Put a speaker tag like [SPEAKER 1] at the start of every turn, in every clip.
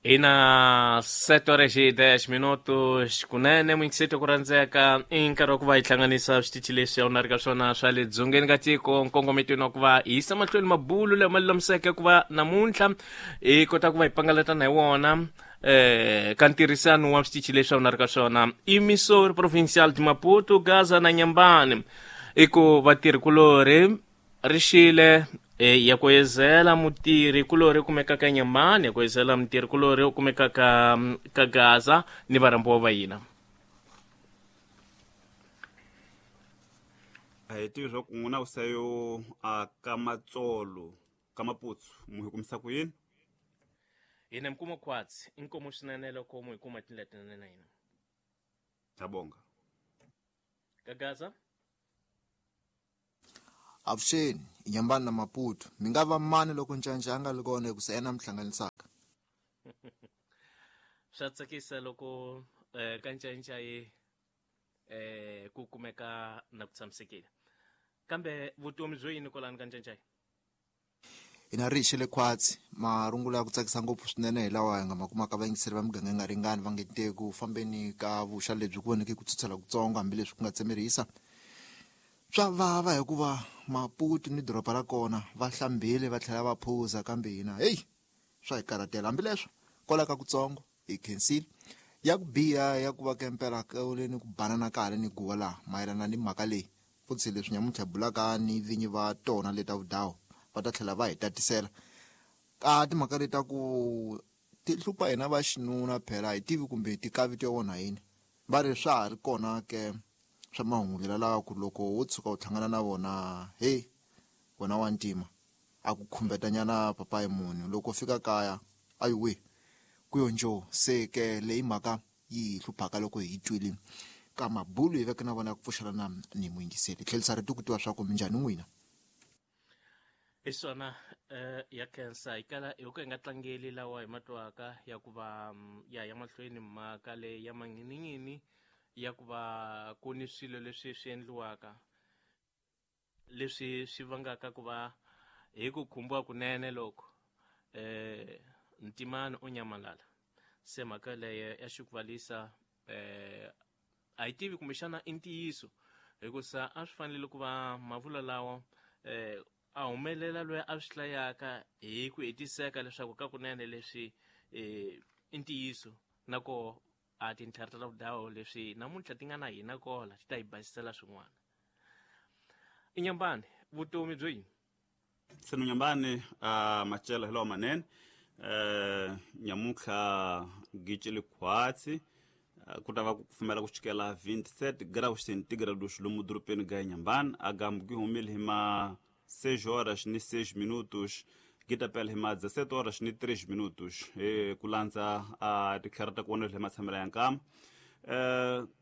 [SPEAKER 1] Ina 7 horas e 10 minutos kunene muyingiseti ku rhandzeka i nkarhi wa ku va hi hlanganisa switichi leswi a wu na ri ka swona swa le dzongeni ka tiko nkongometweni wa ku va hi yisa mahlweni mabulu lama lulamiseke ku va namuntlha hi kota ku va hi pangalatana hi wona ka ntirhisano wa switichi leswi a wu na ri ka swona i Missouri Provincial de Maputo Gaza na Nyambani i ku vatirhi-kulorhi ri xile e, ya ku ezela mutirhi kulorhi kumekaka Nyambani ya ku ezela mutirhi kulorhi u kumekaka ka Gaza ni varhambiwa va hina.
[SPEAKER 2] A hi tivi swa ku n'wina vusayo a ka matsolo ka maputsu mu hi kumisa ku yini?
[SPEAKER 1] Hina mi kuma khwatsi inkomu swinene loko mu hi kuma tindlela tinene na hina.
[SPEAKER 2] Ngiyabonga.
[SPEAKER 1] Ka Gaza.
[SPEAKER 3] Avuxeni, i Nyambani na Maputo. Mi nga va mani loko Ncanca a nga ri kona hikusa yena a mi hlanganisaka?
[SPEAKER 1] Swa tsakisa loko eh, ka Ncanca yi eh, ku kumeka na ku tshamisekile. Kambe vutomi byo yini kwalano ka Ncancai?
[SPEAKER 3] Hina ri hi xele khwatsi marungula ya ku tsakisa ngopfu swinene hi lawa hi nga ma kumaka vayingiseri va miganga yi nga ringani va nge te ku fambeni ka vuxa lebyi ku voneke ku tshutshela kutsongo hambileswi ku nga tsemerisa swa vava hikuva Maputo ni doroba ra kona va hlambile va tlhela va phuza kambe hina heyi swa hi karhatela hambileswo kwala ka kutsongo hi khensile ya ku biha ya ku va kempela kule ni ku banana ka hale ni guwa laha mayelana ni mhaka leyi futhi leswi nyamuntlha hi bulaka ni vinyi va tona leta vudawu va ta tlhela va hi tatisela ka timhaka leta ku ti hlupha hina va xinuna phela hi tivi kumbe ti kavito ya wona yini va ri swa ha ri kona ke swa mahungu lela lawa ku loko wo tshuka u hlangana na vona hey wena wa ntima a ku khumbetanyana papayi munhu loko fika kaya ayiwe ku yo njo se ke leyi mhaka yi hi hluphaka loko hi twile ka mabulu hi veke na vona ku pfuxelana ni muyingiseri tlhelisa rito ku tiva swa ku minjhani n'wina.
[SPEAKER 1] Hi swona ya khensa hi kala hi ku hi nga tlangeli lawa hi ma twaka ya ku va ya ya mahlweni mhaka leyi ya manghinighini ya ku va ku ni swilo leswi swi endliwaka leswi swi vangaka ku va hi ku khumbiwa kunene loko ntimani o nyamalala se mhaka leyo ya xikuvalisa a hi tivi kumbexana i ntiyiso hikusa a swi fanele ku va mavulwa lawa a humelela loyi a swi hlayaka hi ku hetiseka leswaku ka kunene leswi i ntiyiso na koho a tintlhari ta vudawo leswi namuntlha ti nga na hina kola ti ta hi basisela swin'wana. I Nyambani vutomi byo yini?
[SPEAKER 2] Seno Nyambani a macela hi lawa manene nyamuntlha gici likhwatsi ku ta va ku kufumela ku chikela 27 graus centigrados lomu dorobeni ga Nyambani agambu gi humile hi ma 6 horas ni 6 minutos gi ta pela hi ma 17 horas ni 3 minutos hi ku landza a titlhari ta kona hi matshamela ya nkama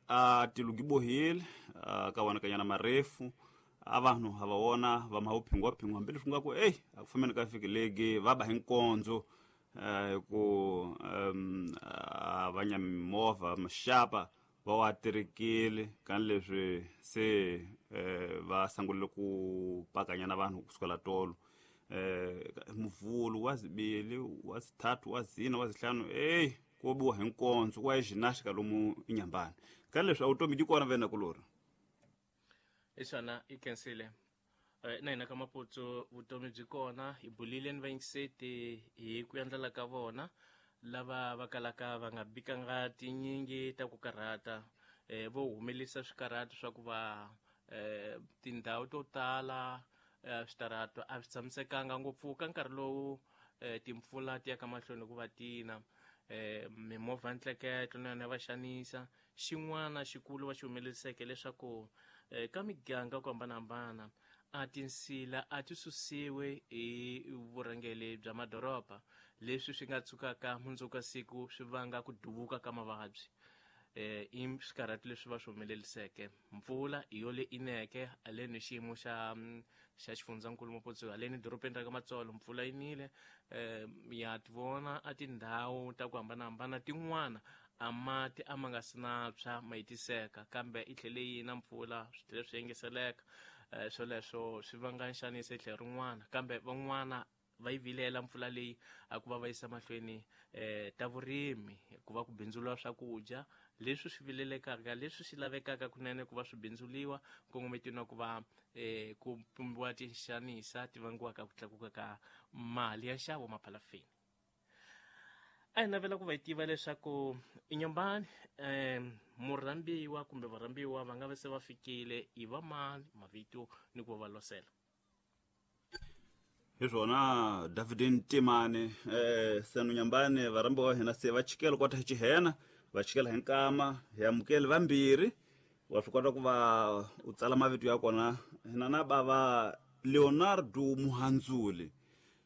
[SPEAKER 2] a tilo gi bohile ka vonakanyana marefu a vanhu ha va vona va ma phingwa hambileswi nga ku eyi a ku fambeni ka vhiki legi va ba hi nkondzo hi ku a va nya mimovha maxapa va wa terekile kani leswi se va sungulile ku pakanyana vanhu kusukela tolo muvhulu wa zibili wa zithathu wa zina wa zihlanu eyi ko biwa hi nkondzo wa ginástica lomu inyambani kani leswi a vutomi byi kona vena kulori.
[SPEAKER 1] Hi swona i khensile na hina ka Maputsu vutomi byi kona hi bulile ni vayingiseti hi ku endlela ka vona lava va kalaka va nga bikanga tinyingi ta ku karhata vo humelisa swikarhato swa ku va tindhawu to tala switarato a swi tshamisekanga ngopfu ka nkarhi lowu timpfula ti ya ka mahlweni ku va tina mimovha ya ntleketlo na yona ya va xanisa. Xin'wana xikulu va xi humeleriseke leswaku ka miganga ku hambanahambana a tinsila a ti susiwe hi vurhangeri bya madoroba leswi swi nga tshukaka mundzuku ka siku swi vanga ku duvuka ka mavabyi i swikarhato leswi va swi humeleriseke. Mpfula hi yo le ineke haleni xiyimo xa xa xifundzankulu Maputsu haleni dorobeni ra ka Matsolo mpfula yi nile ya ti vona a tindhawu ta ku hambanahambana tin'wana a mati a ma nga si na tshwa ma hetiseka kambe i tlhele yi na mpfula swi tlhele swi engeseleka swoleswo swi vanga nxaniso hi tlhelo rin'wana kambe van'wana va yi vilela mpfula leyi a ku va va yisa mahlweni ta vurimi ku va ku bindzuriwa swakudya leswi swi vilelekaka leswi swi lavekaka kunene ku va swi bindzuliwa nkongometweni wa ku va ku pumbiwa tinxanisa ti vangiwaka ku tlakuka ka mali ya nxavo maphalafeni. A hi navela ku va hi tiva leswaku Inhambane murhambiwa kumbe varhambiwa va nga va se va fikile i va mani mavito ni ku va va losela.
[SPEAKER 2] Hi swona David Ntimane senu Nyambane varhambiwa va hina se va chikela kota hi xihena va chikela hi nkama hi amukeli vambirhi wa swi kota ku va u tsala mavito ya kona hina na bava Leonardo Muhandzuli.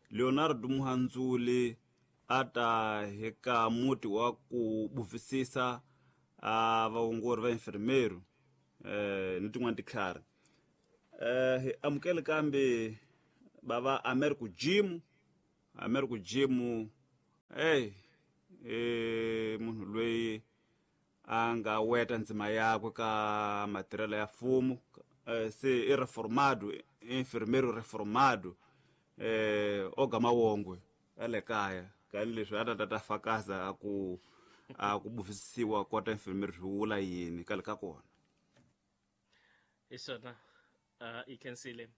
[SPEAKER 2] Leonardo Muhandzuli a ta hi ka muti wa ku buvisisa a vaongori va enfermeru ni tin'wana titlhari. Hi amukele kambe bava Americo Jim. Americo Jim munhu loyi a nga weta ndzima yakwe ka matirhelo ya mfumo se i reformado enfermeiro reformado oga mawongwe ya le kaya kani leswi a ta ta fakaza a ku buvisisiwa kota enfermeiro swi vula yini kale ka kona.
[SPEAKER 1] Hi swona i khensile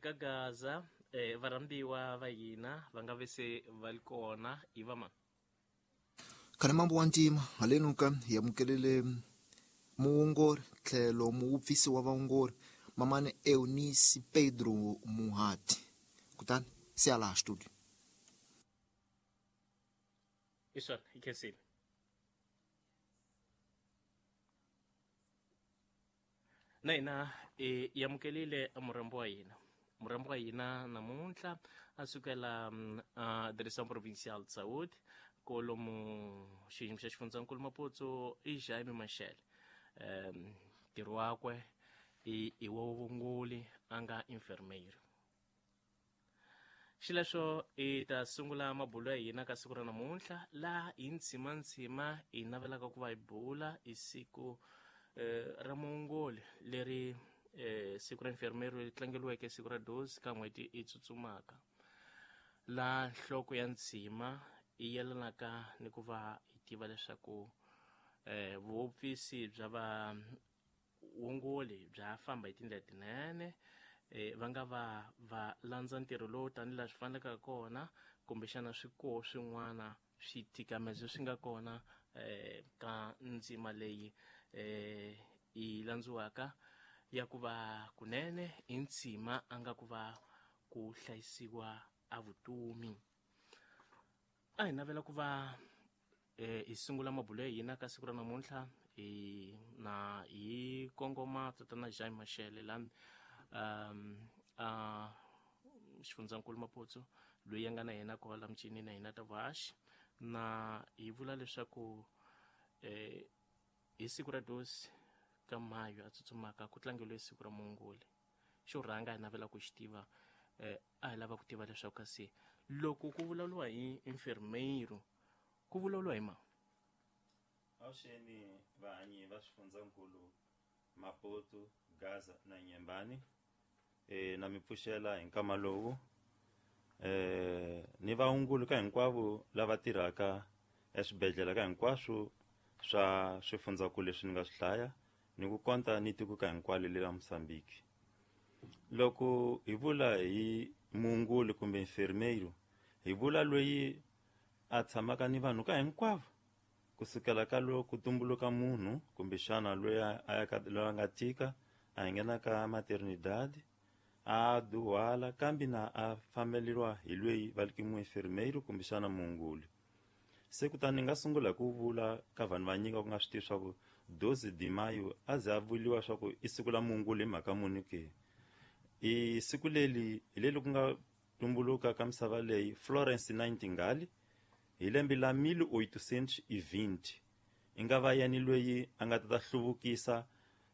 [SPEAKER 1] ka Gaza varhambiwa va hina va nga ve se va li kona i va mani.
[SPEAKER 3] Khale mambo wa ntima haleno ka hi amukelele muongori tlhelo muupfisi wa vaongori mamani Eunice Pedro Muhati kutani se ya laha studio.
[SPEAKER 1] Hi swona hi khensile. Na hina hi amukelile murhambi wa hina. Murhambi wa hina namuntlha a sukela Direção Provincial de Saúde kolomu xiyimo xa xifundzankulu Maputo i Jaime Machel. Ntirho wakwe i wa vuvunguli a nga enfermeiro. Xileswo hi ta sungula mabulo ya hina ka siku ra namuntlha laha hi ntshimantsima hi navelaka ku va hi bula hi siku ra muongoli leri siku ra enfermeiro leri tlangeriweke siku ra 12 ka n'hweti i tsutsumaka laha nhloko ya ntshima yi yelanaka ni ku va hi tiva leswaku vuopfisi bya vaongoli bya famba hi tindlela tinene va nga va va landza ntirho lowu tanihi laha swi faneleke kona kumbexana swikoho swin'wana switikamezo swi nga kona ka ndzima leyi yi landziwaka ya ku va kunene i ntshima a nga ku va ku hlayisiwa a vutomi. A hi navela ku va hi sungula mabulo ya hina ka siku ra namuntlha hi na hi kongoma tatana Jaime Machel la a xifundzankulu Maputo loyi a nga na yena kwala michini na hina ta vuhaxi na hi vula leswaku hi siku ra 12 ka Mayo a tsutsumaka ku tlangeriwe siku ra muongoli. Xo rhanga hi navela ku xi tiva a hi lava ku tiva leswaku kasi loko ku vulavuriwa hi enfermeiro ku vulavuriwa hi mani.
[SPEAKER 4] Avuxeni vahanyi va swifundzankulu Maputo, Gaza na Nyembani. Na mi pfuxela hi nkama lowu ni vaongoli ka hinkwavo lava tirhaka eswibedhlele ka hinkwaswo swa swifundzankulu leswi ni nga swi hlaya ni ku konta ni tiko ka hinkwalo le ra Mozambique. Loko hi vula hi muongoli kumbe enfermeiro hi vula loyi a tshamaka ni vanhu ka hinkwavo kusukela ka loko ku tumbuluka munhu kumbexana loyi a ya ka loyi a nga tika a nghena ka maternidad a duhala kambe na a fambeleriwa hi loyi va ri muenfermeiro kumbexana muongoli. Se kutani ni nga sungula hi ku vula ka vanhu vanyingi ku nga swi tivi swa ku 12 de maio a ze a vuriwa swa ku i siku la muongoli hi mhaka muni ke. I siku leri hi leri ku nga tumbuluka ka misava leyi Florence Nightingale hi lembe la 1820 i nga va yena loyi a nga ta hluvukisa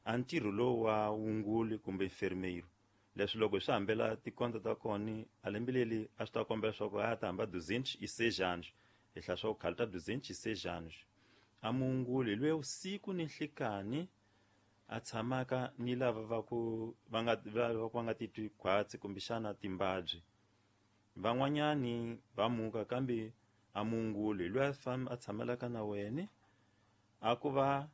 [SPEAKER 4] a ntirho lowu wa wunguli kumbe enfermeiro. Leswi loko swi hambela tikonto ta kona a lembe leri a swi ta kombela swa ku a ta hamba 206 anos hi hlaya swa ku khale ta 206 anos. A muongoli loyi usiku ni nhlikani a tshamaka ni lava va ku va nga va nga titwi khwatsi kumbexana timbabyi. Van'wanyani va muka kambe a muongoli loyi a tshamelaka na wena a ku va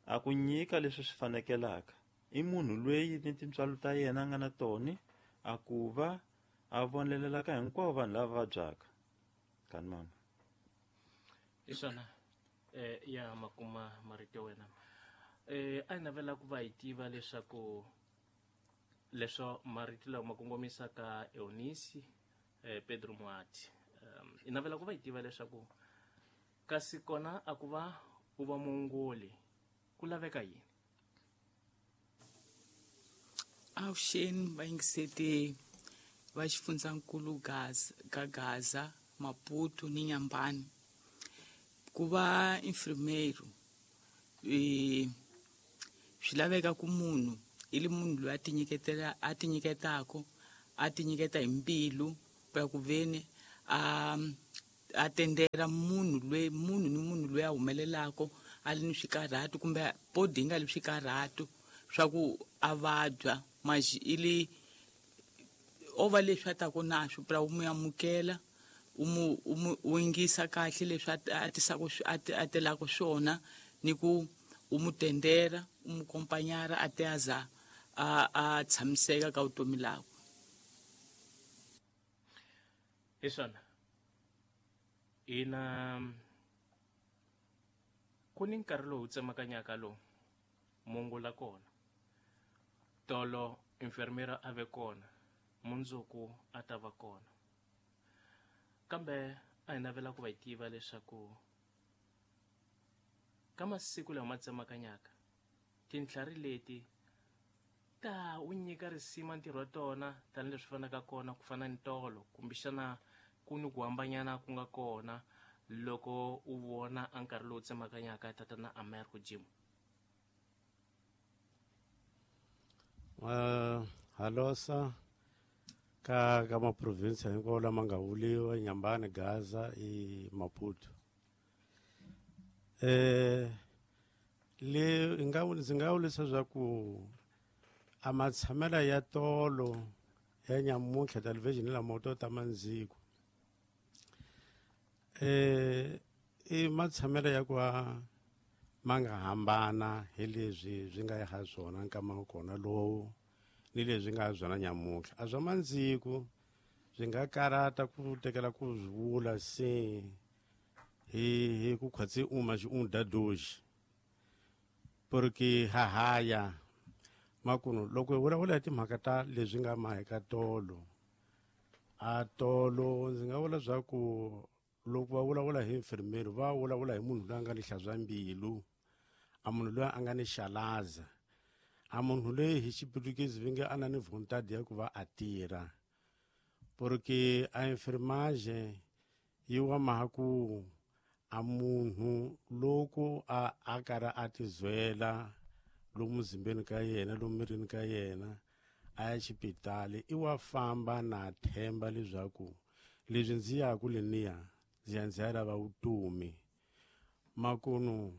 [SPEAKER 4] a ku nyika leswi swi fanekelaka. I munhu loyi ni tintswalo ta yena a nga na tona a ku va a vonelelaka hinkwavo vanhu lava vabyaka. Kani mama.
[SPEAKER 1] Hi swona ya makuma marito ya wena. A hi navela ku va hi tiva leswaku leswo marito lawa ma kongomisaka Eunice Pedro Muati. Hi navela ku va hi tiva leswaku kasi kona a ku va u va muongoli ku laveka yini?
[SPEAKER 5] Avuxeni vayingiseti va xifundzankulu ka Gaza, Maputo ni Nyambani. Ku va enfermeiro swi laveka ku munhu i li munhu loyi a tinyiketaka, a tinyiketa hi mbilu ya ku veni a tendela munhu loyi, munhu ni munhu loyi a humelelaka a li ni swikarhato kumbe body yi nga li swikarhato swa ku a vabya, maxi i li o va leswi a taka na swo pra u mu amukela, u yingisa kahle leswi a tisaka a telaka swona, ni ku u mu tendera, u mu kompanyara a te aza a tshamiseka ka vutomi lakwe.
[SPEAKER 1] Hi swona. Ina ku ni nkarhi lowu tsemakanyaka lowu mungula kona. Tolo enfermera a ve kona, mundzuku a ta va kona. Kambe a hi navela ku va hi tiva leswaku ka masiku lawa ma tsemakanyaka tintlhari leti ta u nyika risima ntirho wa tona tanihileswi fanaka kona ku fana ni tolo, kumbexana ku ni ku hambanyana ku nga kona loko u vona a nkarhi lowu tsemakanyaka tatana Americo Jim.
[SPEAKER 6] Halosa ka maprovinsi hinkwawo lama nga vuliwa Nyambani, Gaza i Maputo. Le ndzi nga vulisa swa ku a matshamela ya tolo ya nyamuntlha television la moto ta mandziko. I matshamela ya ku ma nga hambana hi leswi swi nga ha swona nkama wa kona lowu ni leswi nga ha swona nyamuntlha. A swa mandziko swi nga karata ku tekela ku swi vula se hi ku khwatsi uma xi un dadoji. Porque hahaya makuno loko hi vulavula hi timhaka ta leswi nga maheka tolo, a tolo ndzi nga vula swa ku loko va vulavula hi enfermero va vulavula hi munhu loyi a nga ni hlantswa mbilu, a munhu loyi a nga ni xalaza, a munhu loyi hi xiputukezi va nge a na ni vontade ya ku va a tirha. Porque a enfermage yi wa maha ku a munhu loko a karhi a tizwela lomu muzimbeni ka yena, lomu mirini ka yena, a ya xipitali, i wa famba na themba leswaku leswi ndzi yaku leniya ndzi ya ndzi ya lava vutomi. Makunu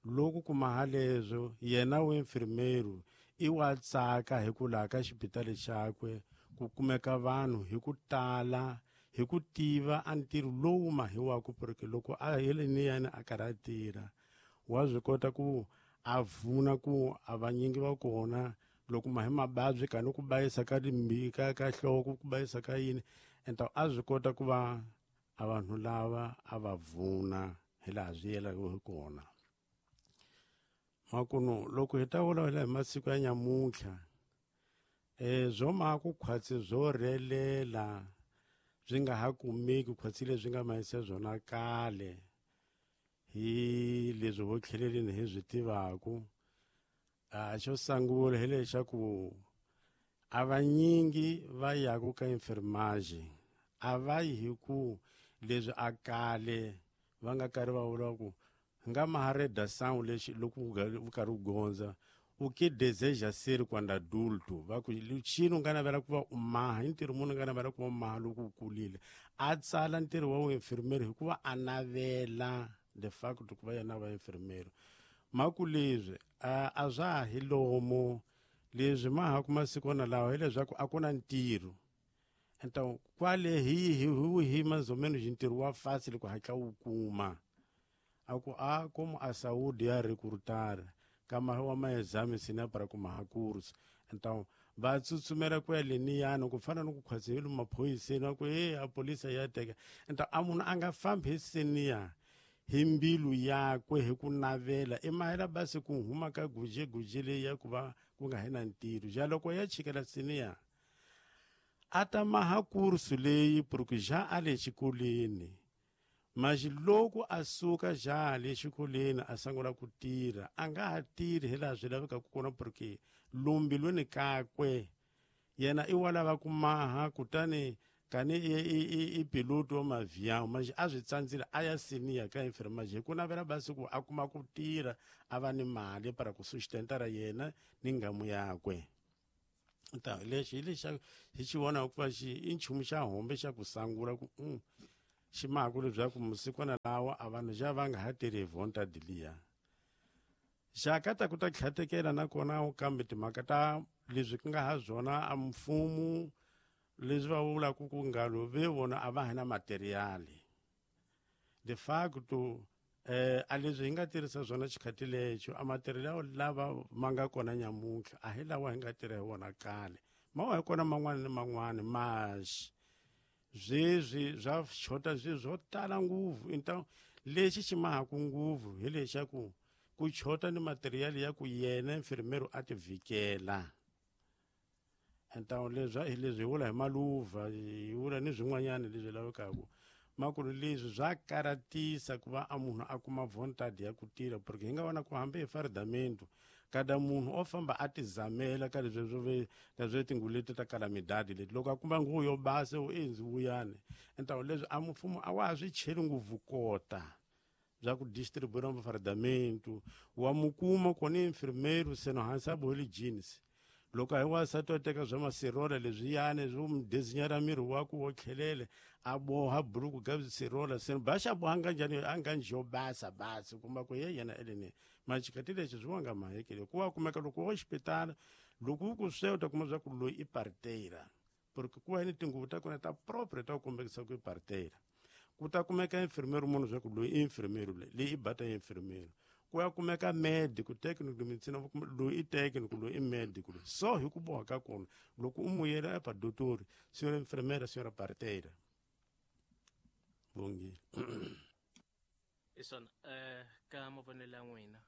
[SPEAKER 6] loko kuma haleswo yena wa enfermeiro i wa tsaka hi ku laha ka xipitali xakwe ku kumeka vanhu hi ku tala hi ku tiva a ntirho lowu mahiwaka, porque loko a heleniyani a karhi a tirha wa swi kota ku a vuna ku a vanyingi va kona loko mahi mababyi ka ni ku bayisa ka ka nhloko, ku bayisa ka yini, enta a swi kota ku va a vanhu lava a va vuna hi laha swi yelaka hi kona. Makuno loko hi ta vulavula hi masiku ya nyamuntlha, swo ma ku khwatsi swo rhelela swi nga ha kumeki khwatsi leswi nga mahisa swona kale hi leswi ho tlheleleni hi swi tivaku. Xo sungula hi lexaku a vanyingi va yaku ka enfermage a va yi hi ku leswi a kale va nga karhi va vula ku nga mahareda sound lexi loko u karhi u gondza u ke deseja ser quando adulto, va ku xini u nga navela ku va u maha, i ntirho munhu u nga navela ku va u maha loko u kulile. A tsala ntirho wa vuinfermeri hikuva a navela de facto ku va yena va infermeri. Maku leswi a swa ha hi lomu leswi ma ha kuma sikwana lawa hileswaku a ku na ntirho. Então kwale hi mais ou menos ntirho wa fácil ku hatla wu kuma a ku a como a saúde ya recrutar kama wa maexame sina para kuma ha curso. Então va tsutsumela ku ya leniyani ku fana ni ku khwatsi maphoyiseni va ku e a polisa ya teka. Então a munhu a nga fambi hi seniya hi mbilu yakwe hi ku navela i mahela basi ku huma ka guje leyi ya ku va ku nga hi na ntirho ja loko ya chikela seniya a ta maha kursu leyi porque já a le xikolweni mas loko a suka já le xikolweni a sungula ku tirha a nga ha tirhi hi laha swi lavekaka kona porque lombilweni kakwe yena i wa lava ku maha kutani kani i piloto wa mavião mas a swi tsandzile a ya seniya ka enfermagem hi ku navela basi ku a kuma ku tirha a va ni mali para ku sustentara yena ni ngamu yakwe. Então lexi hi lexa hi xi vonaka ku va xi i nchumu xa hombe xa ku sangula ku xi maku leswaku masikwana lawa a vanhu xa va nga ha tirhi hi vontade liya xa ka ta ku ta tlhatekela nakona kambe timhaka ta leswi ku nga ha swona a mfumo leswi va vulaka ku ngalo ve vona a va ha na materiali de facto a leswi hi nga tirhisa swona xikhati lexo a material lava ma nga kona nyamuntlha a hi lawa hi nga tirha hi wona kale ma wa hi kona man'wani ni man'wani maxi sweswi swa xota swilo swo tala ngopfu. Então lexi xi mahaku ngopfu hi lexaku ku chota ni material ya ku yena enfermeiro a ti vhikela. Então leswi hi leswi hi vula hi maluva hi vula ni swin'wanyana leswi lavekaka makulu leswi swa karatisa ku va a munhu a kuma vontade ya ku tirha porque hi nga vona ku hambi hi fardamento kada munhu o famba a tizamela ka leswi swo ve ka swo tinguvu leti ta calamidade leti loko a kuma nguvu yo basa u endzi vuyani. Então leswi a mfumo a wa ha swi cheli ngopfu kota bya ku distribuir mafardamento wa mukuma kona enfermeiro seno hansi a bohile jeans loko hi wansati wa teka swa masirola leswiyani swo mu dezinyara miri wa ku wo tlhelele a boha buruku ka sirola seno ba xa boha nga njhani a nga njho basa basi kuma ku ye yena eleni maxikati lexi swi wanga mahekele ku wa kumeka loko wo xipitala loko u ku swe u ta kuma swa ku loyi i parteira porque ku va ni tinguvu ta kona ta propre ta ku kombekisa ku i parteira ku ta kumeka enfermeiro munhu swa ku loyi i enfermeiro leyi i bata enfermeiro ku ya kumeka medico technical medicine loyi i technical loyi i medical so hi ku boha ka kona loko u muyela epa dotori senhora enfermeira senhora parteira bongile.
[SPEAKER 1] I swona ka mavonelo ya n'wina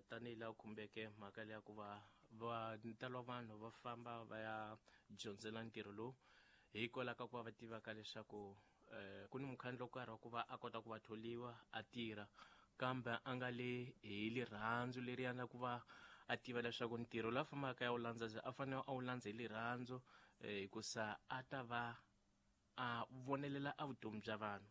[SPEAKER 1] tanihi laha khumbeke mhaka leya ku va va ntalo wa vanhu va famba va ya dyondzela ntirho lowu hikwalaho ka ku va va tivaka leswaku ku ni mukhandlu wo karhi wa ku va a kota ku va tholiwa a tirha kambe a nga le hi lirhandzu leri na ku va a tiva leswaku ntirho lowu a fambaka ya wu landza a fanele a wu landza hi lirhandzu hikusa a ta va a vonelela a vutomi bya vanhu.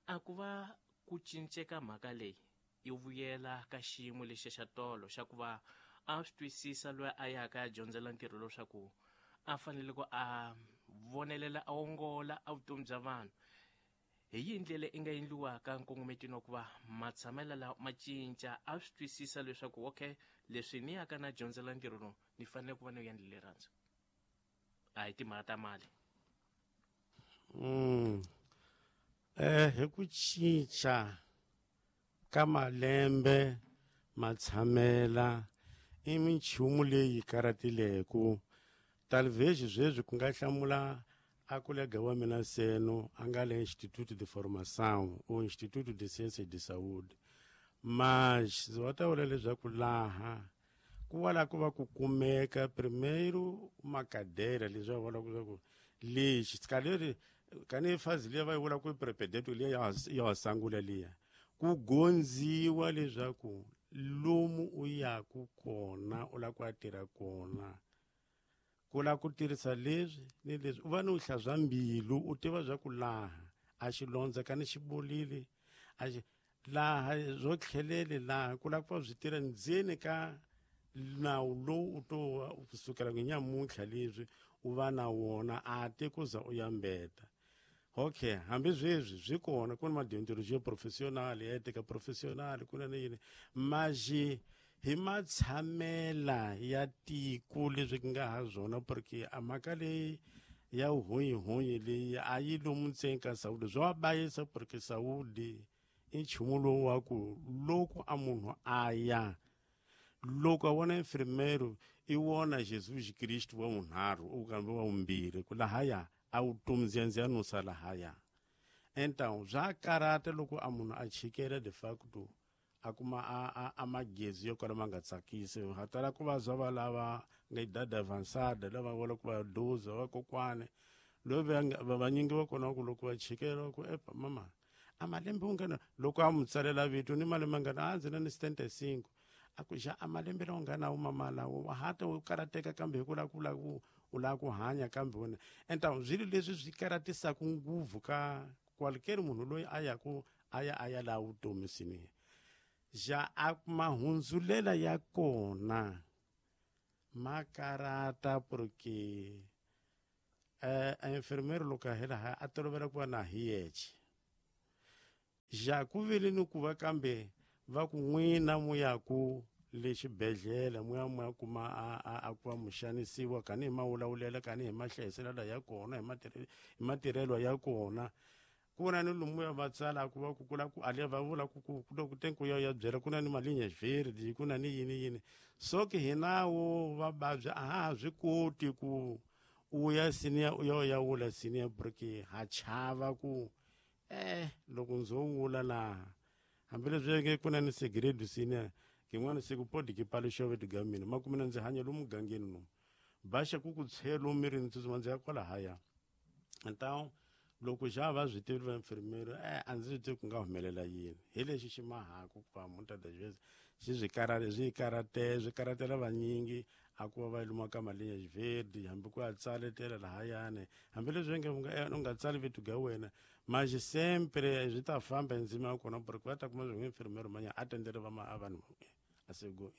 [SPEAKER 1] A ku va ku cinceka mhaka leyi yi vuyela ka xiyimo lexi xa tolo xa ku va a swi twisisa loyi a yaka ya dyondzela ntirho leswaku a fanele ku a vonelela a ongola a vutomi bya vanhu hi yihi ndlela i nga endliwaka nkongometweni wa ku va matshamelo lawa ma cinca a swi twisisa leswaku okay leswi ni yaka na dyondzela ntirho lowu ni fanele ku va ni endle rirhandzu a hi timhaka ta mali.
[SPEAKER 6] Hi ku cinca ka malembe matshamela i minchumu leyi karatileko talvez sweswi ku nga hlamula a kolega wa mina seno a nga le Instituto de Formação ou Instituto de Ciências de Saúde mas va ta vula leswaku laha ku va la ku va ku kumeka primeiro uma cadeira leswi va vulaka leswaku lexi kaleri kani fazi liya va yi vula ku prepedeto liya ya sangula liya ku gondziwa leswaku lomu u yaku kona u lava ku ya tirha kona ku lava ku tirhisa leswi ni leswi u va ni u hlantswa mbilu u tiva swa ku laha a xilondza kani xi bolile a xi laha swo tlhelele laha ku lava ku va swi tirha ndzeni ka nawu lowu u to kusukela ku nyamuntlha leswi u va na wona a te ku za u ya mbeta. Okay hambi sweswi swi kona ku na madeontologia professional ética professional ku na ni yini maxi hi matshamela ya tiko leswi ku nga ha swona porque a mhaka leyi Ya uhunyi leyi a yi lomu ntseni ka saúde swa bayisa porque saúde i nchumu lowu wa ku loko a munhu a ya loko a vona enfermeiro i vona Jesus Cristo wa vunharhu u kambe wa vumbirhi ku lahaya a vutomi ndziyandziya nusa lahaya. Então swa karata loko a munhu a chikela de facto a kuma a magezi yo kala ma nga tsakisi ha tala ku vabya va lava nga idade avançada lava vula ku va doza vakokwane loyi vanyingi va kona ku loko va chikela ku epa mama a malembe u nga na loko a mu tsalela vito ni malembe nga na a ndzi na ni 75 a ku xa a malembe lawa nga na mama lawo wa hata u karateka kambe hi ku lava ku lava ku u lava ku hanya kambe wena. Então swilo leswi swi karatisaka ngopfu ka qualquer munhu loyi a yaku a ya a ya laha vutomi swinene. Ja a mahundzulela ya kona ma karata porque a enfermeiro loko a hela a tolovela ku va na hi yexe. Ja ku vile ni ku va kambe va ku n'wina mu ya ku le xibedhlele mu ya mu ya kuma a ku va mu xanisiwa kani hi mawulawulela kani hi mahlayiselelo ya kona hi matirhelo ya kona. Ku na ni lomu ya va tsalaka va ku kula ku ale va vula ku ku loko tenku ya ya byela ku na ni malinha verde ku na ni yini yini so ke hinawo va vabya a ha swi koti ku u ya senior u ya ya wula senior porque ha chava ku loko ndzo wula laha hambileswi nge ku na ni segredo senior kin'wana siku podi ki paluxa vito ga mina ma kumina ndzi hanya lomu mugangeni lomu baxa ku ku tshelo mirini tsutsuma ndzi ya kwalahaya. Então loko xa va swi tivi va enfermeiro a ndzi swi tivi ku nga humelela yini hi lexi xi mahaku ku va muta das vezes xi swi karate swi karate swi karatela vanyingi a ku va va luma ka malinha verde hambi ku ya tsaletela lahayani hambileswi nge u nga tsali vito ga wena mas sempre swi ta famba ndzima ya kona porque va ta kuma swi enfermeiro manya a tendele va ma vanhu a sego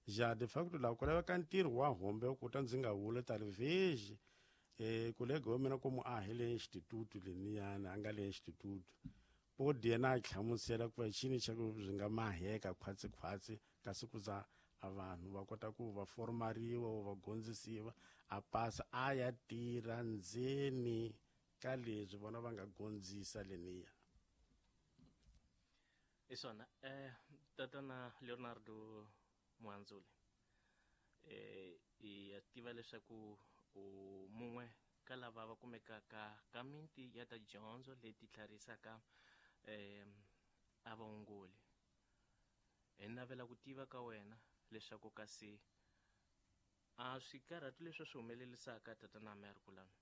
[SPEAKER 6] ja de facto laha ku laveka ntirho wa hombe ku ta ndzi nga wula talvez kolega wa mina komu a hi le instituto leniyana a nga le instituto podi yena a hlamusela ku va xini xa ku swi nga maheka khwatsi kasi ku za a vanhu va kota ku va formariwa va gondzisiwa a pasa a ya tirha ndzeni ka leswi vona va nga gondzisa leniya.
[SPEAKER 1] Hi swona tatana Leonardo Muhandzuli hi ya tiva leswaku u mun'we ka lava va kumekaka ka miti ya ta dyondzo leti tlharisaka a vaongoli. Hi navela ku tiva ka wena leswaku kasi a swikarhatu leswi swi humelelisaka tatana Merkulani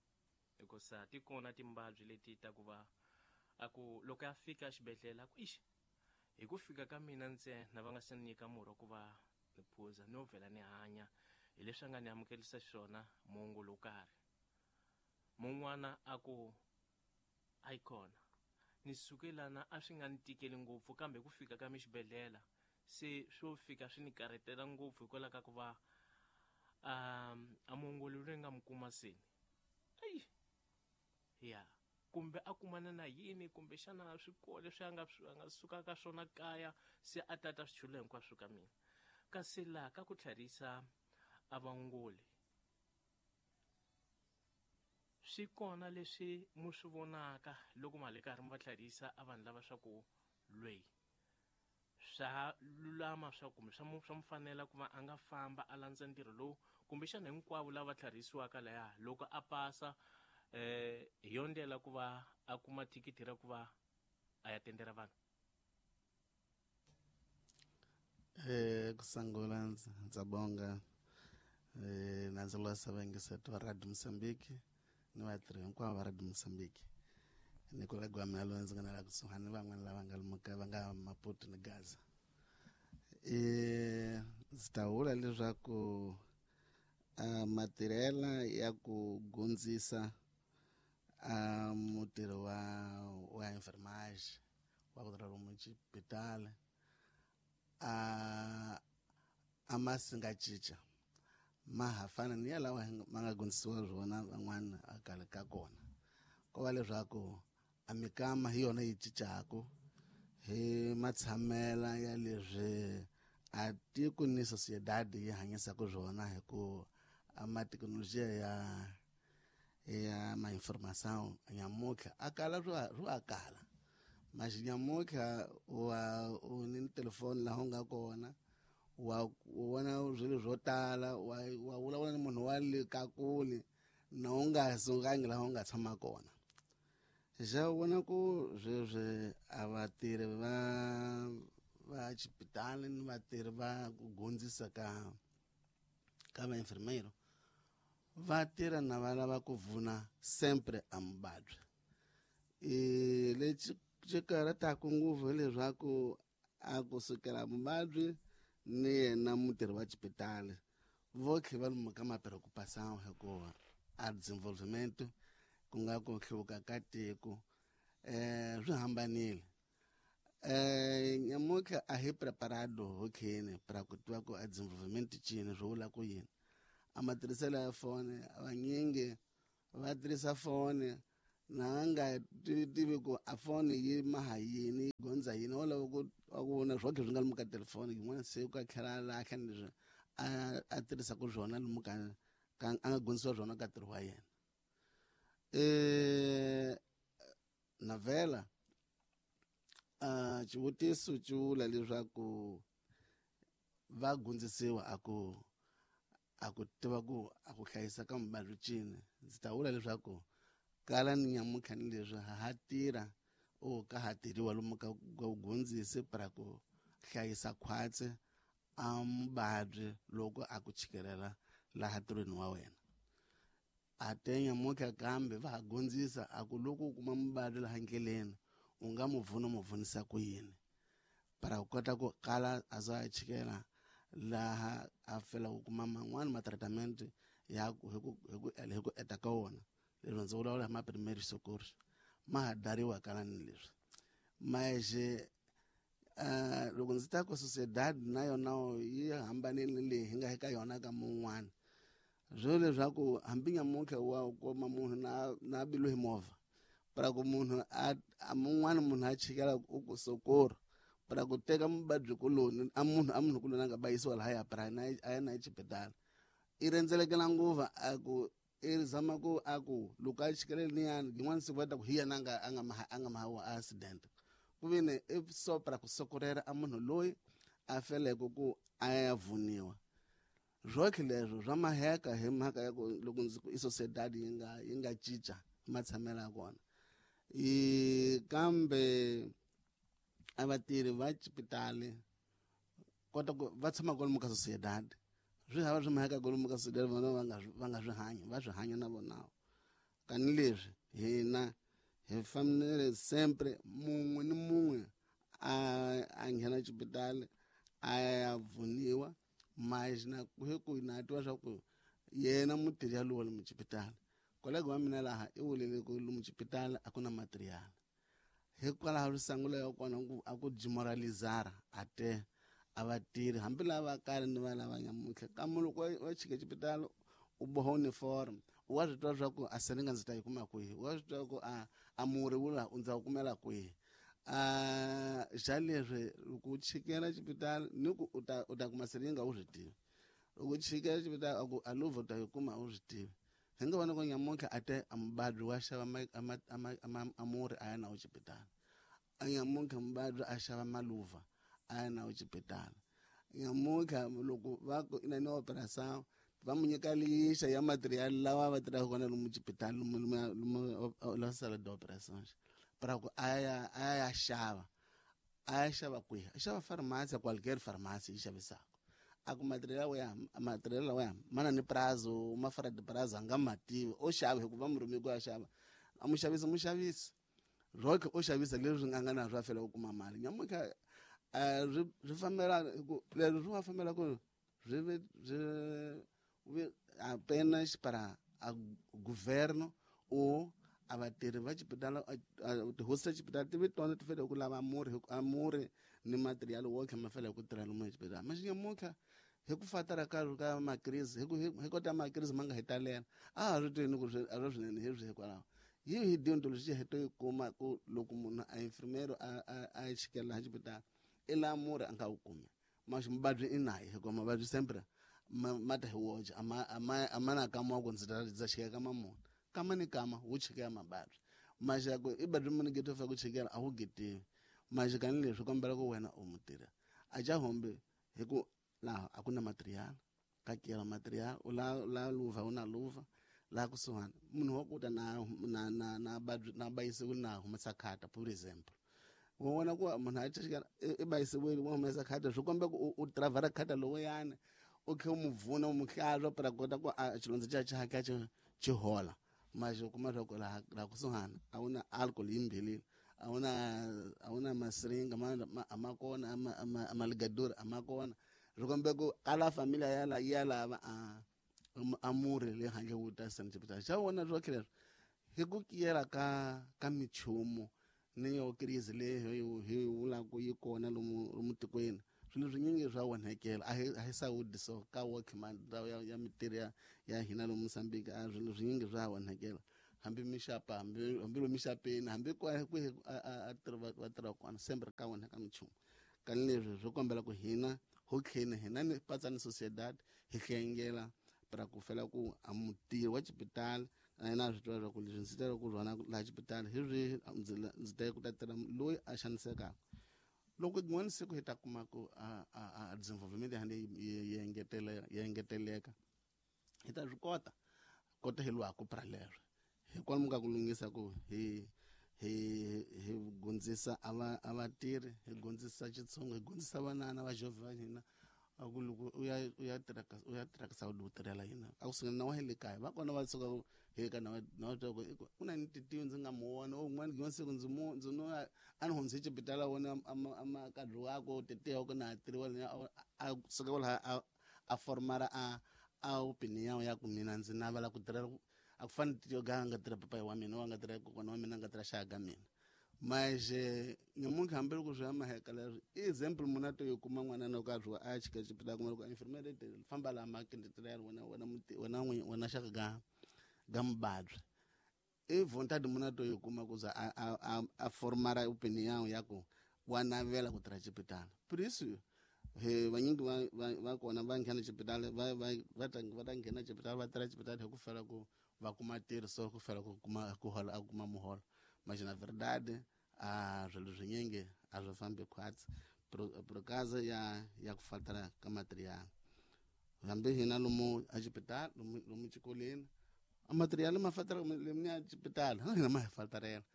[SPEAKER 1] hikusa ti kona timbabyi leti ta ku va a ku loko a fika xibedhlele a ku ixi hi ku fika ka mina ntsena va nga se nyika murhi ku va ni phuza no vhela ni hanya hi leswi a nga ni amukelisa xiswona muongoli wo karhi. Mun'wana a ku a yi kona ni suke lana a swi nga ni tikeli ngopfu kambe ku fika ka mi xibedhlele se swo fika swi ni karhetela ngopfu hikwalaho ka ku va a muongoli loyi nga mu kuma seni ayi ya kumbe a kumana na yini kumbe xana swikolo leswi a nga suka ka swona kaya se a tata swichulo hinkwaswo ka mina. Kasi laha ka ku tlharisa a vaongoli swi kona leswi mu swi vonaka loko mali karhi mi va tlharisa a vanhu lava swa ku lweyi swa lulama swa kumbe swa mu fanela ku va a nga famba a landza ntirho lowu kumbexana hinkwavo lava tlharisiwaka laya loko a pasa hi yo ndlela ku va a kuma thikithi ra ku va a ya tendera vanhu.
[SPEAKER 7] Kusangula ndza bonga na ndzi losa vayingiseti va Radio Mozambique ni vatirhi hinkwavo va Radio Mozambique ni kolega wa mina loyi ndzi nga na la kusuhani ni van'wana lava nga lomuka va nga Maputo ni Gaza. Ndzi ta vula leswaku matirhela ya ku gondzisa mutirhi wa enfermage wa ku tirha lomu xibedhlele a ma si nga cinca ma ha fana ni ya lawa ma nga gondzisiwa swona van'wana a kale ka kona ko va leswaku a mikama hi yona yi cincaku hi matshamela ya leswi a tiko ni sociedade yi hanyisaka swona hi ku a mathekinolojiya Ya ma-informação nyamutlha a kala swo a kala mas nyamutlha wa u ni telefoni laha u nga kona wa vona swilo swo tala wa vulavula ni munhu wa le ka kule na u nga sukangi laha u nga tshama kona. Xa vona ku sweswi a vatirhi va xipitali ni vatirhi va ku gondzisa ka vainfermeiro va tirha na va lava ku vuna sempre a muvabyi. Lexi xi karhataka ngopfu hileswaku a kusukela muvabyi ni yena mutirhi wa xipitali vo tlhe va lomu ka ma-preocupação hikuva a desenvolvimento ku nga ku hluvuka ka tiko swi hambanile. Nyamutlha a hi preparado hokheni para ku tiva ku a desenvolvimento cini swi vula ku yini. A matirhiselo ya foni vanyingi va tirhisa foni na nga tivi ku a foni yi maha yini yi gondza yini wa lava ku vona swotlhe swi nga lomu ka telefoni yin'wana se ku a tlhela a lahla ni leswi a tirhisaka swona lomu ka a nga gondzisiwa swona ka ntirho wa yena. Navela xivutiso xi vula leswaku va gondzisiwa a ku tiva ku a ku hlayisa ka muvabyi cini. Ndzi ta vula leswaku kala ni nyamutlha ni leswi ha tirha o ka ha tirhiwa lomu ka ku gondzisi para ku hlayisa khwatsi a muvabyi loko a ku chikelela laha ntirhweni wa wena. A te nyamutlha kambe va ha gondzisa a ku loko u kuma muvabyi laha ndleleni u nga mu vuna mu vunisa ku yini para ku kota ku kala a za a chikela laha a fela ku kuma man'wani ma-treatment ya hi ku eta ka wona. Leswi ndzi vulavula hi ma-primary socorro ma ha dariwa kala ni leswi. Mas loko ndzi ta ku sociedad na yona yi hambanile leyi hi nga eka yona ka mun'wana. Swo leswaku hambi nyamutlha wa kuma munhu na bilu hi movha para ku munhu a mun'wana munhu a chikela u ku socorro para ku teka muvabyi kuloni a munhu kuloni a nga bayisiwa lahaya para a ya na exibedhlele i rhendzelekela nguva a ku i zama ku a ku loko a chikelele niyani yin'wana siku va ta ku hi yena a nga mahawa accident ku vini i so para ku sokorela a munhu loyi a feleke ku a ya vuniwa. Swotlhe leswo swa maheka hi mhaka ya ku loko ndzi ku i sociedad yi nga cinca matshamelo ya kona. Kambe a vatirhi va xipitali kota ku va tshama kwalomu ka sociedad swi hava swi maheka kwalomu ka sociedad vona va nga swi hanya va swi hanya na vona. Kani leswi hina hi fanele sempre mun'we ni mun'we a nghena xipitali a ya vuniwa mas na hi ku na twa swa ku yena mutirhi yalowo lomu xipitali kolega wa mina laha i vulele ku lomu xipitali a ku na material hikwalaho risangulo ya kona a ku demoralizara a te a vatirhi hambi lava kale ni va lava nyamutlha kambe loko wa chika xipitali u boha uniform wa swi twa swa ku a selinga ndzi ta yi kuma kwihi wa swi twa ku a murhi wu laha u ndza wu kumela kwihi. Xa leswi loko u chikela xipitali ni ku u ta kuma selinga u swi tivi loko u chikela xipitali a ku a luvha u ta yi kuma u swi tivi. Hi nga vona ku nyamutlha a te a muvabyi wa xava a murhi a ya na wu xipitali a nyamutlha muvabyi a xava maluva a ya na wu xipitali nyamutlha loko va ku ina ni operação va mu nyika lixa ya material lawa va tirhaka kona lomu xipitali lomu la sala de operações para ku a ya xava kwihi a xava farmasi qualquer farmasi yi xavisaka a ku material lawa ya mana ni prazo ma fara de prazo a nga ma tivi o xava hikuva murhumi ku ya xava a muxavisi muxavisi roke o xavisa leswi nga na swa fela ku kuma mali nyamutlha swi fambela ku leswi swi nga fambela ku swi swi apenas para a governo ou a vatirhi va xipitali tihosi ta xipitali ti vi tona ti fanele ku lava murhi ni material wo tlhela ma fanele ku tirha lomu exibedhlele. Mas nyamutlha hi ku fatara ka makrisi hi kota makrisi ma nga hi talela a ha swi tivi ni ku a swi swinene hi swi hikwalaho yi hi dyondzo lexi hi to yi kuma ku loko munhu a infirmero a chikela laha xipitali i laha murhi a nga wu kumi mas muvabyi i naye hikuva mavabyi sempre ma ta hi woxe a ma na kama wa ku ndzi ta chikela ka mamunhu. Kama ni kama wu chikela mababyi maxa ku i badri muni geto fa ku chikela a wu getiwi maxa kani leswi kombela ku wena u mutirha a ja hombe hi ku laha a ku na material ka kela material u la luva u na luva laha kusuhani munhu wa kuta na na na na badri na bayisiwile na humesa khata for example wa vona ku munhu a chikela i bayisiwile wa humesa khata swi komba ku u travara khata lowuyani u khe u mu vuna u mu hlantswa para kota ku a xilondza xa xa xa xi hola mas u kuma swa ku laha kusuhani a wu na alcohol yimbhelile a wu na masiringa a ma kona a maligadori a ma kona swi kombe ku kala familia ya lava a murhi le handle wu ta sanitipita xa vona swo leswi hi ku kiyela ka michumu ni yo crise leyi hi vulaka yi kona lomu tikweni swilo swinyingi swa onhekela a hi sawudi so ka workman ndhawu ya mitirho ya hina lomu Mozambique a swilo swinyingi swa onhekela hambi mixapa hambi lomu mixapeni hambi kwihi a va tirha kona sempre ka onheka michumu kani leswi swi kombela ku hina ho tlheni hina ni patsa ni sociedad hi hlengela para ku fela ku a mutirhi wa xipitali na yena a swi tiva leswaku leswi ndzi tele ku rhwana laha xipitali hi swihi ndzi tele ku ta tirha loyi a xanisekaka loko rin'wana siku hi ta kuma ku a desenvolvement ya yi engeteleka hi ta swi kota kota hi lwaku pra leswo hi kwalomu ka ku lunghisa ku hi hi gondzisa a vatirhi hi gondzisa xitshungu hi gondzisa vanana va jovha va hina a ku loko u ya tirha ka Saudi u tirhela yina a ku sungula na wa le kaya va kona va suka hi ka na wa twa ku ku na ni titiwi ndzi nga mu vona un'wana rin'wana siku ndzi mu ndzi no a ni hundze xipitala wona a kadri wako titiwa ku na tirhiwa a suka laha a formara a opinion ya ku mina ndzi navela ku tirhela a ku fani titiwa ga nga tirha papayi wa mina wa nga tirha kokwana wa mina nga tirha xaka ga mina mas nyamuntlha hambi loko swi ya maheka leswi i example munhu a to yi kuma n'wana loko a zwiwa a chika xipitala kuma loko infirmere famba laha makende tirhela wena wena wena wena xaka ga mubabyi i vontade munhu a to yi kuma ku za a formara opinion ya ku wa navela ku tirha xipitala por isso he vanyingi va kona va nghena xipitala va ta nghena xipitala va tirha xipitala hi ku fela ku va kuma tirho so ku fela ku kuma ku hola a kuma muholo mas na verdade a swilo swinyingi a swi fambi khwatsi por causa ya ku faltela ka material hambi hina lomu a xipitala lomu xikolweni a material ma faltela lomu ya xipitala hina ma hi falterela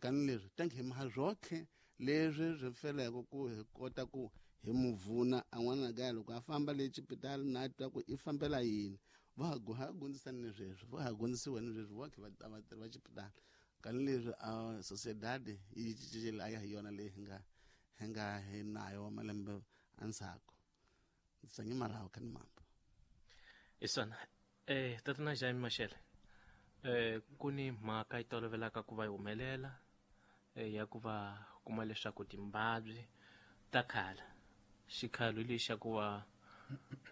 [SPEAKER 7] kani leswi tanki hi maha swotlhe leswi swi feleke ku hi kota ku hi muvuna a n'wana kaya loko a famba le xipitala na twa ku i fambela yini va ha gondzisani ni sweswi va ha gondzisiwa ni sweswi va khe vatirhi va xipitala kani leswi a sociedad yi cincile a ya hi yona leyi hi nga hi nayo wa malembe endzhaku ndzi tsange marawu kha ni mambo
[SPEAKER 1] isona tatana Jaime Mashele ku ni mhaka yi tolovelaka ku va yi humelela ya ku va kuma leswaku timbabyi ta khala xikhalo lexi xa ku va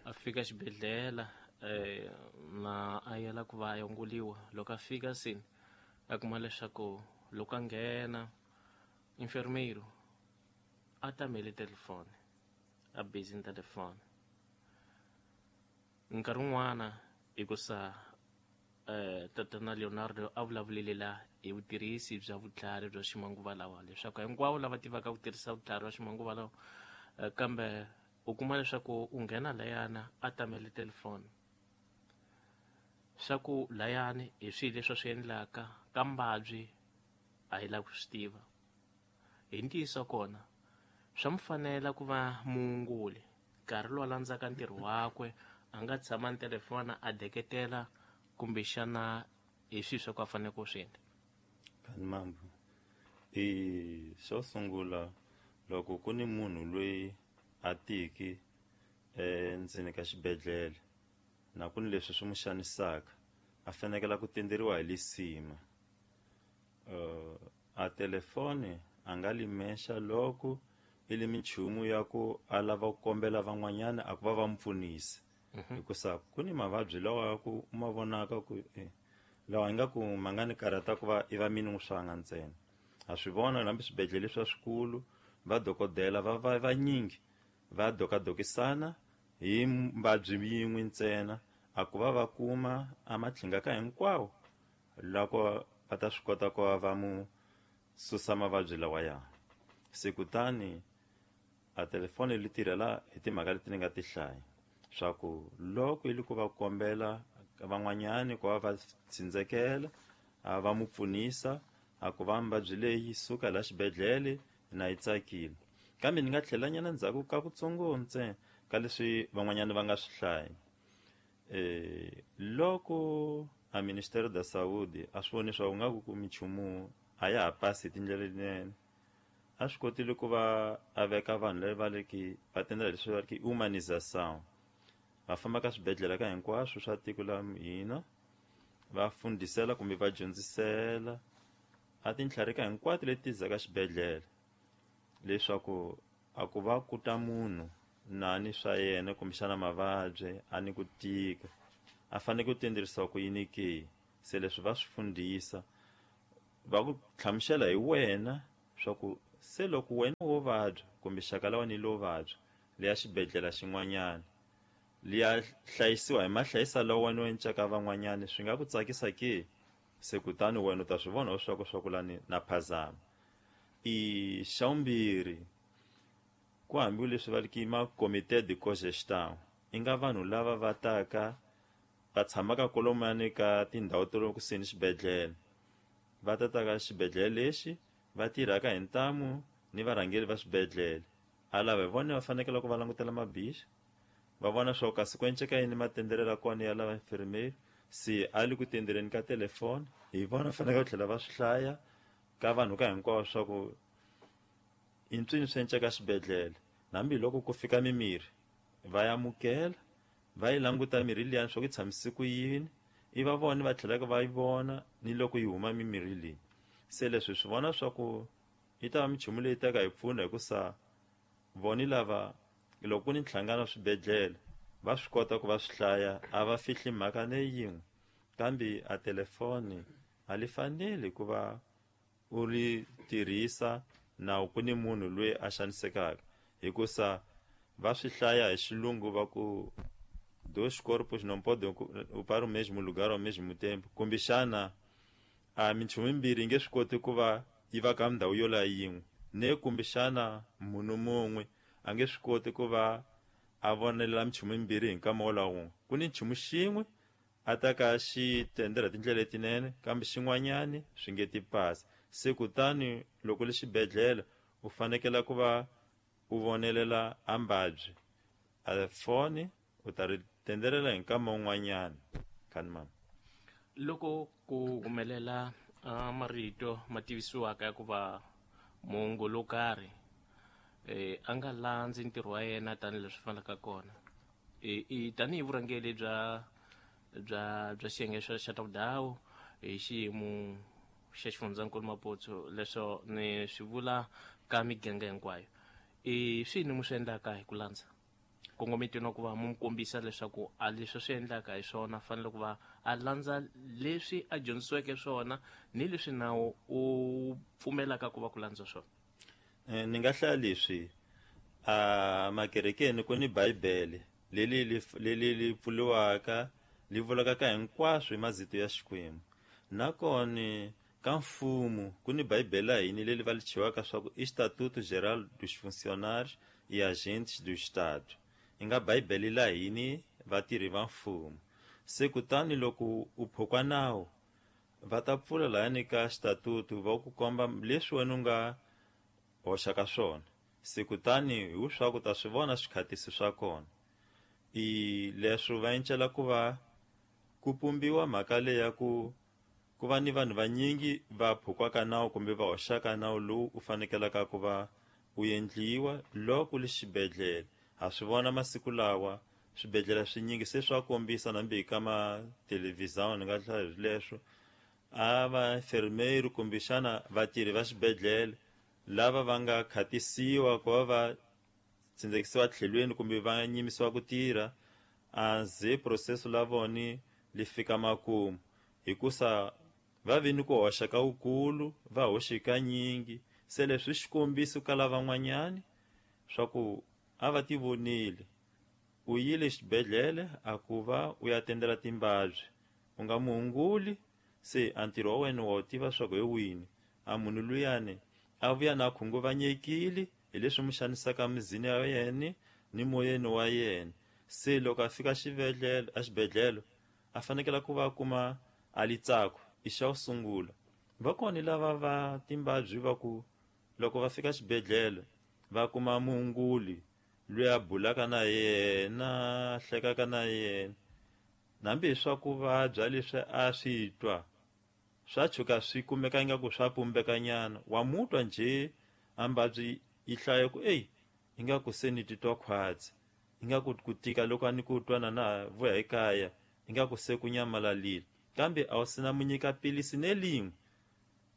[SPEAKER 1] a fika xibedhlele na a yela ku va a yongoliwa loko a fika sini a kuma leswaku loko a nghena enfermeiro a tamele telefoni a busy ni telefoni nkarhi wun'wana hikusa tatana Leonardo a vulavulile la hi vutirhisi bya vutlhari bya ximanguva lawa leswaku hinkwavo lava tivaka ku tirhisa vutlhari bya ximanguva lawa kambe u kuma leswaku u nghena layana a tamele telefoni swa ku layani hi swilo leswi swi endlaka ka mbabyi a hi lavi ku swi tiva hi ntiyiso kona swa mu fanela ku va muunguli nkarhi lowu landzaka ntirho wakwe a nga tshama ni telefona a deketela kumbexana hi swilo swa ku a fanele ku swi endla
[SPEAKER 4] kani mambo i xo sungula loko ku ni munhu loyi a tiki endzeni ka xibedhlele na ku ni leswi swi n'wi xanisaka a fanekela ku tenderiwa hi lisima a telefoni a nga limexa loko i li minchumu ya ku a lava ku kombela van'wanyana a ku va va mu pfunisa hikusa ku ni mavabyi lawa ya ku u ma vonaka ku lawa ingaku ma nga ni karhata ku va i va mini n'wi swanga ntsena ha swi vona hambi swibedhlele swa swikulu va dokodela va vanyingi va dokadokisana hi mbabyi yin'we ntsena a ku va va kuma a matlhinga ka hinkwawo loko va ta swi kota ku va mu susa mavabyi lawaya. Se kutani a telefoni li tirhela hi timhaka leti ni nga ti hlaya swa ku loko yi li ku va kombela van'wanyani ku va va tsindzekela a va mu pfunisa a ku va mavabyi leyi suka la xibedhlele na yi tsakile. Kambe ni nga tlhelanyana ndzhaku ka kutsongo ntsena ka leswi van'wanyana va nga swi hlaya. Loko a Ministério da Saúde a swi voni swa ku nga ku minchumu a ya ha pasi hi tindlela letinene, a swi kotile ku va a veka vanhu lava va le ki va tendela leswi va ri ki humanização, va famba ka swibedhlele ka hinkwaswo swa tiko la hina va fundisela kumbe va dyondzisela a tintlhari ka hinkwato leti zaka xibedhlele leswaku a ku va ku ta munhu nani swa yena kumbexana mavabyi a ni ku tika a fanele ku tenderisiwa ku yini ke. Se leswi va swi fundisa va ku hlamusela hi wena swa ku se loko wena wo vabya kumbe xaka la wena lo vabya leya xibedhlele xin'wanyana liya hlayisiwa hi mahlayisa lawa wena u encaka van'wanyana swi nga ku tsakisa ke. Se kutani wena u ta swi vona leswaku swa ku lani na phazama. I xa vumbirhi ku hambi leswi va ri ki ma comité de cogestion i nga vanhu lava va taka va tshamaka kolomani ka tindhawu to le kusuhi ni xibedhlele, va tataka xibedhlele lexi va tirhaka hi ntamu ni varhangeri va swibedhlele. A lava hi vona va fanekele ku va langutela mabixa va vona swa ku kasi ku enceka yini matenderelo ya kona ya lava infirmeri, se a le ku tendereni ka telefoni hi vona fanekele ku tlhela va swi hlaya ka vanhu ka hinkwavo swa ku i ntswini swi enceka xibedhlele. Hambiloko ku fika mimirhi va ya amukela va yi languta mirhi liyani swa ku yi tshamise ku yini, i va vona va tlhelaka va yi vona ni loko yi huma mimirhi leyi. Se leswi swi vona swa ku yi ta va minchumu leyi taka hi pfuna hikusa voni lava loko ku ni nhlangano wa swibedhlele va swi kota ku va swi hlaya, a va fihli mhaka ne yin'we. Kambe a telefoni a li faneli ku va u ri tirhisa na ku ni munhu loyi a xanisekaka, hikusa va swi hlaya hi xilungu va ku dois corpos não podem ocupar o mesmo lugar ao mesmo tempo, kumbexana a minchumu yimbirhi yi nge swi koti ku va yi va ka ndhawu yo la yin'we, ne kumbexana munhu mun'we a nge swi koti ku va a vonelela minchumu yimbirhi hi nkama wolowo wun'we. Ku ni nchumu xin'we a ta ka xi tendela tindlela letinene, kambe xin'wanyani swi nge ti pasi. Se kutani loko le xibedhlele u fanekela ku va u vonelela a mbabyi, a foni u ta ri tendelela hi nkama wun'wanyana. Khani mama,
[SPEAKER 1] loko ku humelela marito ma tivisiwaka ya ku va muongo lo karhi a nga landzi ntirho wa yena tanihileswi fanelaka kona, tanihi vurhangeri bya bya bya xiyenge xa ta vudhawu hi xiyimo xa xifundzankulu Maputo, leswo ni swi vula ka miganga hinkwayo, i swini mu swi endlaka hi ku landza kongometweni wa ku va mu kombisa leswaku a leswi swi endlaka hi swona fanele ku va a landza leswi a dyondzisiweke swona ni leswi nawu u pfumelaka ku va ku landza swona?
[SPEAKER 4] Ni nga hlaya leswi a makerekeni ku ni bibele leli leli pfuliwaka li vulaka ka hinkwaswo hi mazito ya Xikwembu. Nakona ka mfumo ku ni bibele ya hina leli va li chiwaka swa ku Estatuto Geral dos Funcionários e Agentes do Estado, i nga bibele la hini vatirhi va mfumo. Se kutani loko u phukwa nawu va ta pfula lahani ka xitatutu va ku komba leswi wena u nga hoxaka swona. Se kutani hi swa ku ta swi vona swikhatisi swa kona. I leswi va encela ku va ku pumbiwa mhaka leyi ya ku ku va ni vanhu vanyingi va phukwaka nawu kumbe va hoxaka nawu lowu u fanekelaka ku va u endliwa loko li xibedhlele. Ha swi vona masiku lawa swibedhlele swinyingi se swa kombisa nambi ka ma televhizão ni nga hlaya leswo a va enfermeiro kumbexana vatirhi va xibedhlele lava va nga khatisiwa ku va va tsindzekisiwa tlhelweni kumbe va nyimisiwa ku tirha a ze processo la voni li fika makumu, hikusa va vi ni ku hoxa ka wukulu va hoxe kanyingi. Se leswi xikombiso ka lavan'wanyani swa ku a va ti vonile u yile xibedhlele a ku va u ya tendela timbabyi u nga muhunguli Se a ntirho wa wena wa wu tiva swa ku hi wini. A munhu luyani a vuya na khunguvanyekile hi leswi mu xanisaka mizini ya yena ni moyeni wa yena. Se loko a fika xibedhlele, exibedhlele a fanekele ku va a kuma a litsako i xa ku sungula. Va kona lava va timbabyi va ku loko va fika xibedhlele va kuma muongoli loyi a bulaka na yena, a hlekaka na yena, hambi hi swa ku vabya leswi a swi twa swa tshuka swi kumeka ingaku swa pumbekanyana. Wa mutwa njhe a mbabyi yi hlaya ku eyi ingaku se ni titwa khwatsi, ingaku ku tika loko a ni ku twa na na vuya ekaya ingaku se ku nyamalalile, kambe a wu sina mu nyika pilisi ne lin'we.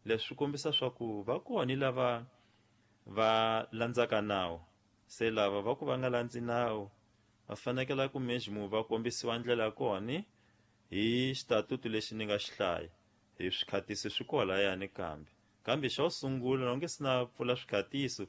[SPEAKER 4] Leswi swi kombisa swa ku va kona lava va landzaka nawu. Se lava va ku va nga landzi nawu va fanekele ku mesmo va kombisiwa ndlela ya kona hi xitatutu lexi ni nga xi hlaya, hi swikhatiso swi kolayani. Kambe xa ku sungula loko nge si na pfula swikhatiso,